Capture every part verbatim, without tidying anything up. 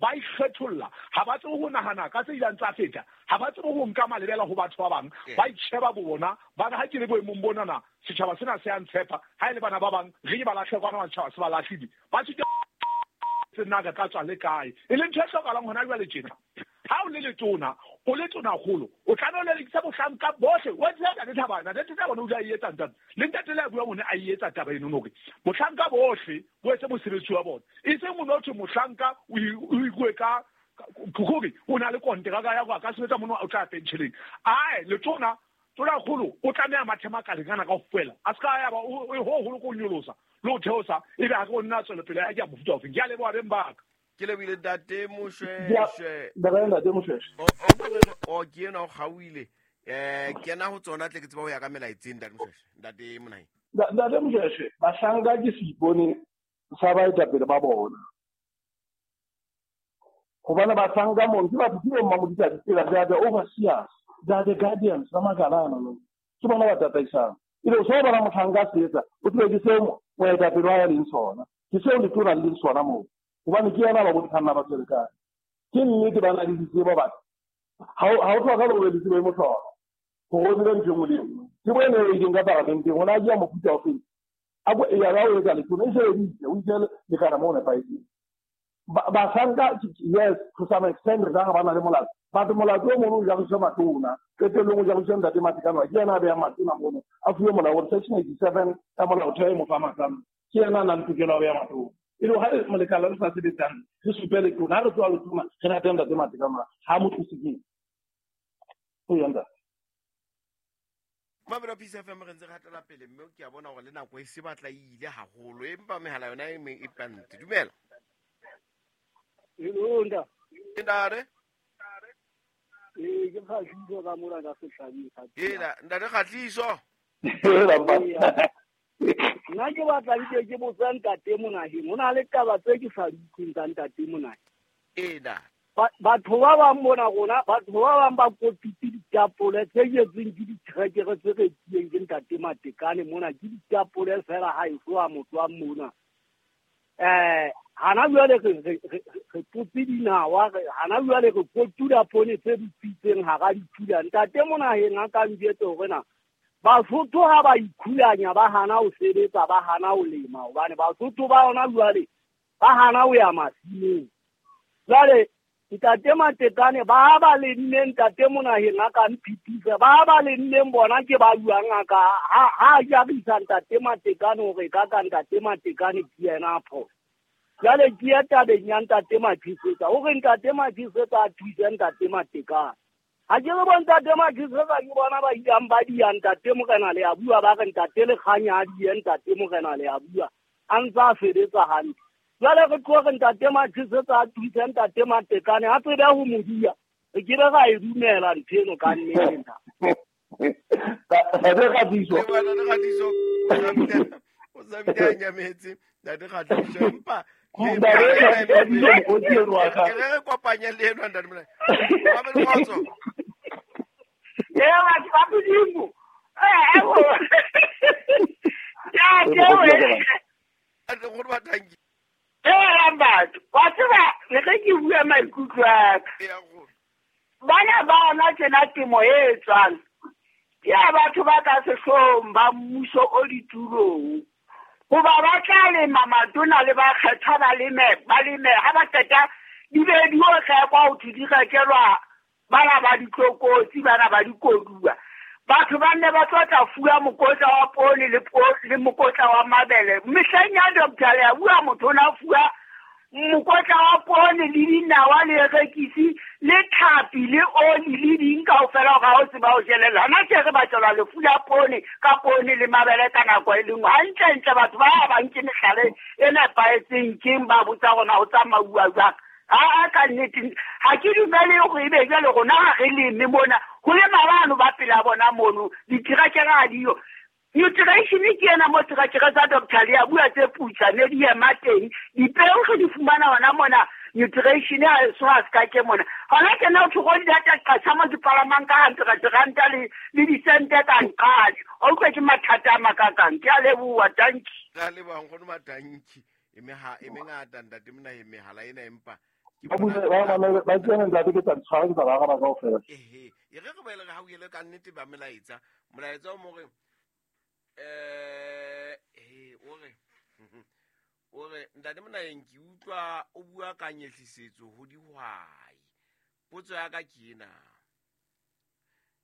Ba ikgetholla, ha ba tsebe ho nahana ka tse ileng tsa feta, ha ba tsebe ho nka malebela ho batho ba bang, ba itsheba bona, ba re ha ke le boemong bonana, setjhaba sena se a ntshepa, ha e le bana ba bang, re ba lahle kwana setjhaba se ba lahlile. Ba sitwa nna re tla tswa le kae. E leng ntho e hlokahalang hona jwale tjena. Ha o le letona, o le tonakgolo, o tlameha o lelekisa bohlanka bohle. Wa tseba ntate Thabana, ntate Thabana o ile a e etsa ntate. Le ntate le a buang o ne a e etsa taba eno hore bohlanka bohle bo etse mosebetsi wa bona. E seng o no thwe mohlanka o ikuwe ka hore o na le konteraka ya hore a ka sebetsa mono o tla pentsheleng. Ae letona tonakgolo o tlameha mathe makaleng ana kaofela. A ska ya ba o ho holo ko nyolosa le ho theosa ebe ha re nna tswela pele ya ke a mofuta ofeng. Ke a leboha beng ba ka. Ke lebile ntate Moshweshwe. Ntate Moshweshwe. O o ke ena o kgauile. Eh kena ho tsona tle ke tseba ho ya ka melaetseng ntate Moshweshwe. Ntate Monaheng. Ntate Moshweshwe, bahlanka ke seipone sa baetapele ba bona. Hobane bahlanka mono ke batho ke bo mmamodisa ditsela, they are the overseers, they are the guardians ba makala ana no. Ke bona ba tataisang. Ebe o so bona mohlanka se etsa, o tsebe ke seo moetapele wa ya leng sona. Ke seo letona le leng sona moo. Hobane ke yena ba bontshang ba tswele kae. Ke nnete ba na le ditsebo batho. Ha ha o tlhoka hore le tsebo e mohlolo. Hore o tsebe ntho e nngwe le e nngwe. Tsebo ena e ileng ka paramenteng, o na ja mofuta ofeng. A bo ya ba o etsa letona, e sebeditse, o itse lekana moo nepahetseng. Bahlanka, yes, to some extent re ka ba na le molato. Batho molato o mono o jariswa matona. Qetellong o jariswa ntate Matekane, ke yena a behang matona mono. A fuwe molao hore section eighty-seven ya molaotheo e mo fa matla. Ke yena a nang le tokelo ya ho beha matona. E le ha molekala le sa sebetsang, re supe letona, ha re tloha letona, re rate ntate Matekane, ha mo tlose keng. O ya ntate. Mabelo Peace F M re ntse re hatela pele mme ke a bona hore le nako e se batla e ile haholo empa mehala yona e meng e pante. Dumela. Hello nda. Ntate. Eh ke Kgatliso ka mora ka sehlabeng. Ela ntate Kgatliso. Nna ke batla ke ke botsa ntate Monaheng. Ho na le taba tse ke sa di utlweng tsa ntate Monaheng. Ena. Batho ba bang mona rona, batho ba bang ba kotutse ditapole tse jetsweng ke ditrekere tse rekileng ke ntate Matekane mona, ke ditapole fela ha e tloha motho wa mona. Eh hana jwale re re totse dinawa, hana jwale re kotula poone tse butswitseng hara dipula. Ntate Monaheng a ka njwetse hore na Basotho ha ba ikhulanya ba hana ho sebetsa, ba hana ho lema, hobane Basotho ba hona jwale ba hana ho ya masimong. Jwale ntate Matekane ba ba lemmeng, ntate Monaheng a ka mphitisa, ba ba lemmeng bona ke ba buang a ka ha ha jarisa ntate Matekane hore ka ka ntate Matekane ke yena a phoso. Jwale ke ya tabeng ya ntate Mathisetsa, hore ntate Mathisetsa a thuse ntate Matekane. Ha ke re bo ntate Mathisetsa ke bona ba ilang ba dia ntate Morena le a bua, ba re ntate Lekganya a die ntate Morena le a bua, a ntse a sebetsa hantle. Jwale re tlo re ntate Mathisetsa a thuse ntate Matekane, a tsebe ho mo dia, re ke be ra e dumela ntho eno ka nnete nna. Ntate Kgatliso. Ntate Kgatliso, o sa bile a nyametse, ntate Kgatliso, empa ke re kopanye le eno ntate Monaheng. Ba be le kgotso. Ee, batho ba Modimo. Eh, ya ke we. Ee, batho, wa tseba le ge ke bua maikutlo a ka. Bana ba ona tjena temo e etswang ke ya batho ba ka sehloohong ba mmuso o ditulong. Hoba ba tla lema matona le ba kgethwa ba leme, ba leme ha ba qeta di be di o rekwa ho thwe di rekelwa bana ba ditlokotsi, bana ba dikoduwa. Batho ba nne ba tlo tla fuwa mokotla wa poone le le mokotla wa mabele. Mehleng ya Doctor le a bua motho o na fuwa mokotla wa poone le dinawa le rekisi le tlhapi le oli le ding kaofela hore ha o tseba ho jelella. Hona tje re batlelwa lefu la poone ka poone le mabele ka nako e le nngwe. Hantlentle batho ba ba nke mehlala e nepahetseng keng ba botsa rona ho tsamauwa jwang. Ha ka nnete ha ke dumele hore ebe jwale rona ha re leme mona ho lema bano ba pela bona mono diterakere ha diyo. Nutrition ke ena mo terakere tsa Doctor le a bua tse putsa ne di ema teng dipeo re di fumana hona mona. Nutrition ha so ha ska ke mona hona ke na o thoko di data qasha mo di palamang ka hundred ranta le le disente ka nqadi o utlwe ke mathata a makakang. Ke a leboha, danki. Ka leboha nkgono madanki. E meha e mengata ntate Monaheng mehala ena empa Ba ba ba tsena ntate ke tsa tshwara ke tsa ba araba kaofela. Ehe, e re re boele re hauhele ka nnete ba melaetsa. Molaetsa o mo re eh eh o re o re ntate Monaheng ke utlwa o bua ka nyehlisetso ho dihwai. Potso ya ka ke ena.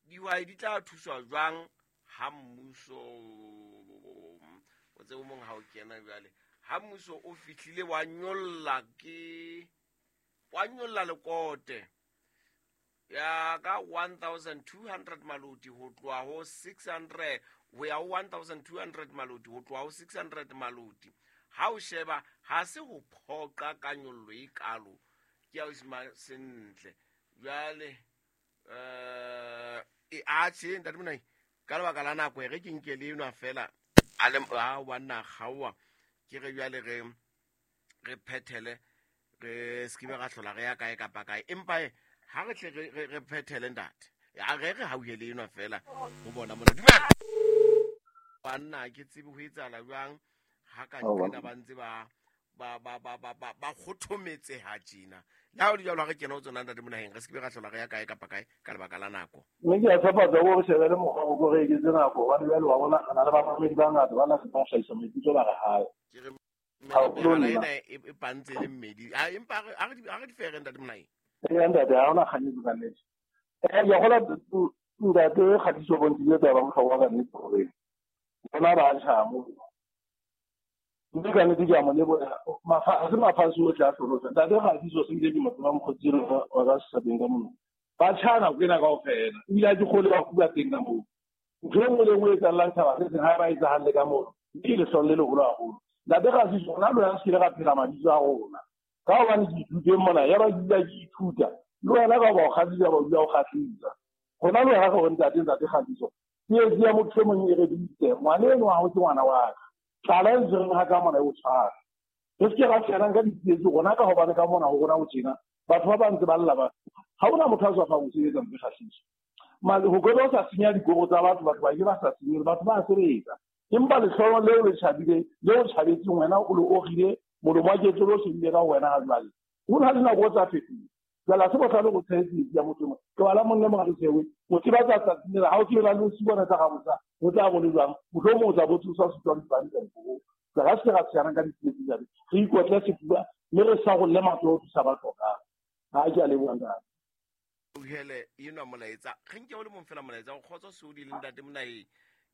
Dihwai di tla thuswa jwang ha mmuso o tsebe mong ha o kena jwale ha mmuso o fihlile wa nyolla ke wa nyolla lekote ya ka one thousand two hundred maloti ho tloha ho six hundred ho ya ho one thousand two hundred maloti ho tloha ho six hundred maloti. Ha o sheba ha se ho phoqa ka nyollo e kalo ke ya o sentle jwale eh e a tjhe ntate Monaheng ka lebaka la nako e re ke nke le enwa fela a le a wa nna kgaowa ke re jwale re re phethele re se ke be ra hlola re ya kae kapa kae empa ha re tle re re phethele ntate a re re hauhele enwa fela ho bona mona dumela banna ke tsebe ho etsahala jwang ha ka nqena ba ntse ba ba ba ba ba ba ba kgothometseha tjena le ha o le jwalo ha re kena ho tsona ntate Monaheng re se ke be ra hlola re ya kae kapa kae ka lebaka la nako. Mme ke a tshepa tsa gore shebe le mokgwa o re eketse nako hobane jwale wa bona re na le bamamedi ba ngata ba na se ba hlahisa maikutlo ba re hae. Ke re mehala ena e pantse le mmedi a empa a re a re di fere ntate Monaheng. Ee ntate ha hona kganyetso ka nnete. Eh ke gola ntate Kgatiso bontshitse taba bohlokwa ka nnete hore bona ba tjha mo mme ka nnete ke a mo leboha ha se mafatshe ohle a hlolotse ntate Kgatiso se nkile ke mo tseba mokgotsi wa ka setjhabeng ka mona ba tjha nako ena kaofela ebile ha ke kgole ba fuwa teng ka moo ntho e nngwe le nngwe e etsahalang tjhaba se seng ha ba etsahalle ka moo mme ke lehlolo le leholo haholo. Ntate Kgatiso rona le wena se kile ra phela mabitso a rona ka hobane ke ithuteng mona ya ba ke dula ke ithuta le wena ka ba o kgahlisa ba dula o kgahlisa rona le wena ka hore ntate ntate Kgatiso tsietsi ya motho e mong e re bitse ngwana eno wa hao ke ngwana wa ka tlala e ntshwereng ha ka mona e o tshwara re se ke ra tshwanang ka ditsietsi rona ka hobane ka mona ho rona ho tjena batho ba ba ntse ba lla ba ha hona motho a tswafang ho sebetsa ntho Kgatiso ho ke o sa senya dikoro tsa batho batho ba ke ba sa senye batho ba sebetsa empa lehlolo leo le tjhabile leo tjhabetseng wena o le ogile molomo wa ketso lo shebile ka wena ha jwale ho na le nako tsa fetoha jwale ha se bohlale go tshehetse ya motho mo ke bala monna mo ga sewe o tseba tsa tsatsing la ha o tseba le o sibona tsa ga botsa o tla bo le jwang mohlomong o tla bo tsosa setswa dipane tsa go ga se ga tshwana ka ditsietsi tsa re ikotle sefuba mme re sa go le matlo o thusa ba tlhokang ha ke a leboha ntate. Uhele enwa molaetsa re nke o le mong fela molaetsa o kgotso Seodi le ntate Monaheng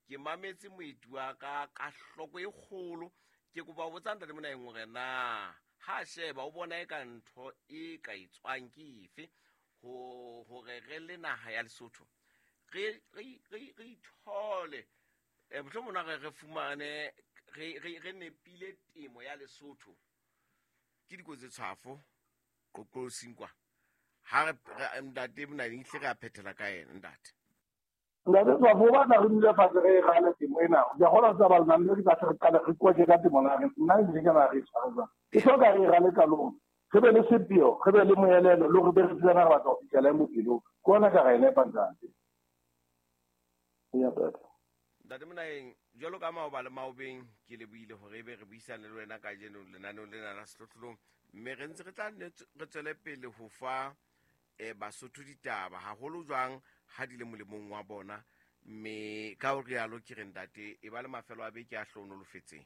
ke mametse moeti wa ka ka hloko e kgolo ke kopa ho botsa ntate Monaheng hore na ha sheba o bona e ka ntho e ka etswang ke efe ho hore re le naha ya Lesotho re re re re ithole e mohlomong re re fumane re re re nepile temo ya Lesotho ke dikotsi tshwafo qoqosing kwa ha re ntate Monaheng hle re a phethela ka yena ntate. Ntate Tshwafo ba tla re dule fatshe re rale temo ena ke a kgona tsa ba lona mme ke tla re qale re koke ka temo na re nna ebile ke na re tshwara jwang e hloka re rale qalong re be le sepheo re be le moelelo le re be re tsebana re batla ho fihlela e bophelong ke ona ka ra e nepa ntate. Ntate Monaheng jwalo ka maoba le maobeng ke lebohile hore ebe re buisane le wena kajeno lenaneong lena la Sehlohlolong mme re ntse re tla re tswele pele ho fa eh Basotho ditaba haholo jwang ha di le molemong wa bona mme ka ho rialo ke re ntate e ba le mafelo a beke a hlohonolofetseng.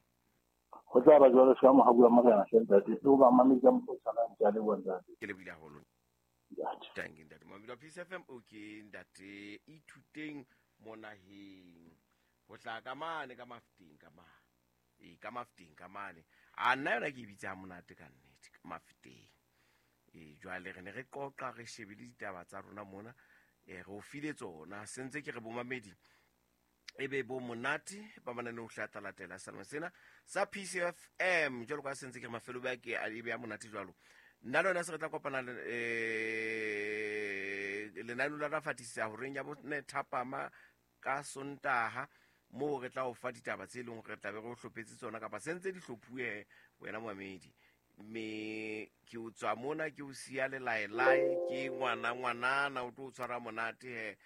Ho tla ba jwalo se ka mohabu wa morena hle ntate le ho ba mamedi ka mokgwa o tshwanang ke a leboha ntate. Ke lebohile haholo. Thank you ntate. Mamedi wa Peace F M o ke ntate Ithuteng Monaheng ho tla ka mane ka Mafeteng ka mane e ka Mafeteng ka mane a nna yona ke e bitsa monate ka nnete ka Mafeteng e jwale re ne re qoqa re shebile ditaba tsa rona mona e re o file tsona sentse ke re bomamedi e be bo monate ba manane o hla latela sena sena sa P C F M jwalo ka sentse ke re mafelo ba ke a be a monate jwalo nna le wena se re tla kopana le eh lenaneo la rafatisa horeng ya bone thapama ka Sontaha moo re tla o fa ditaba tse leng re tla be re o hlopetse tsona kapa sentse di hlophuwe wena moamedi mme ke o tswa mona ke o siya lelaelae ke ngwana ngwanana o tlo o tshwara monate he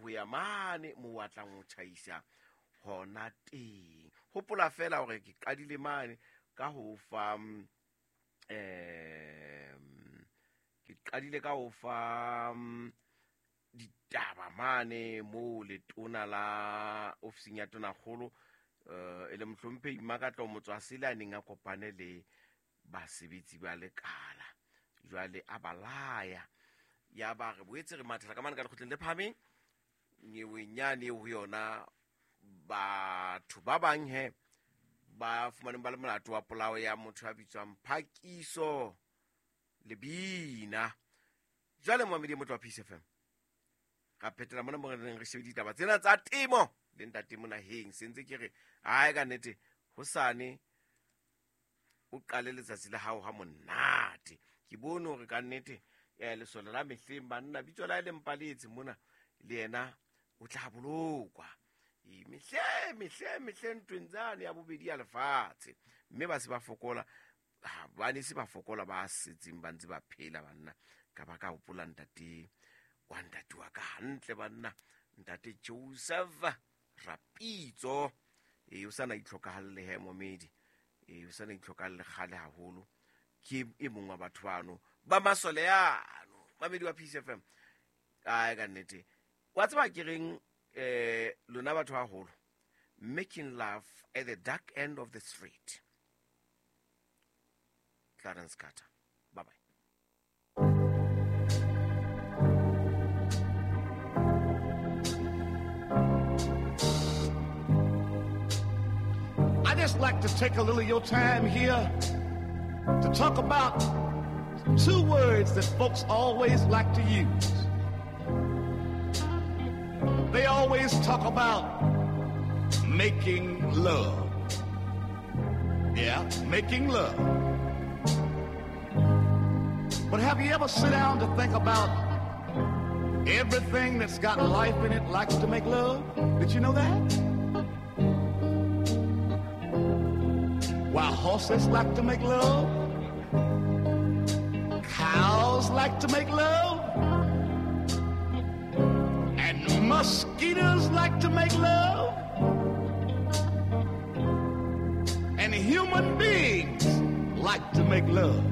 ho ya mane mo wa tlang ho tjhaisa hona teng. Hopola fela hore ke qadile mane ka ho fa eh Qadile ka ho fa ditaba mane mo letona la ofising ya tonakgolo eh e le mohlomphehi Mmakatlo Motswasele a neng a kopane le basebetsi ba lekala. Jwale a balaya ya ba re boetse re mathela ka mane ka lekgotleng le phahameng nyeweng yane ho yona batho ba bang he ba fumaneng ba le molato wa polao ya motho ya bitswang Phakiso Lebina. Jwale momedi motho wa Peace F M ka phetela mona mo re neng re shebe ditaba tsena tsa temo le ntate Monaheng. Sentse ke re hae ka nnete hosane o qale letsatsi la hao ha monate. Ke bone hore ka nnete eh lesole la mehleng banna bitso la le mpaletse mona le yena o tla bolokwa. E mehle mehle mehle ntweng tsane ya bobedi ya lefatshe mme ba se ba fokola ba ne se ba fokola ba setseng ba ntse ba phela banna. Ka ba ka hopola ntate wa ntate wa ka hantle banna ntate Joseph Rapitso. E o sana itlhokahalle he momedi e o sana itlhokahalle kgale haholo. Ke e mong wa batho bano ba masole yano mamedi wa Peace F M. Ai ka nnete wa tseba ke reng eh lona batho ba haholo, making love at the dark end of the street. Clarence Carter. Bye bye. I just like to take a little of your time here to talk about two words that folks always like to use. They always talk about making love. Yeah, making love. But have you ever sit down to think about everything that's got life in it likes to make love? Did you know that? Why, horses like to make love. Cows like to make love. And mosquitoes like to make love. And human beings like to make love.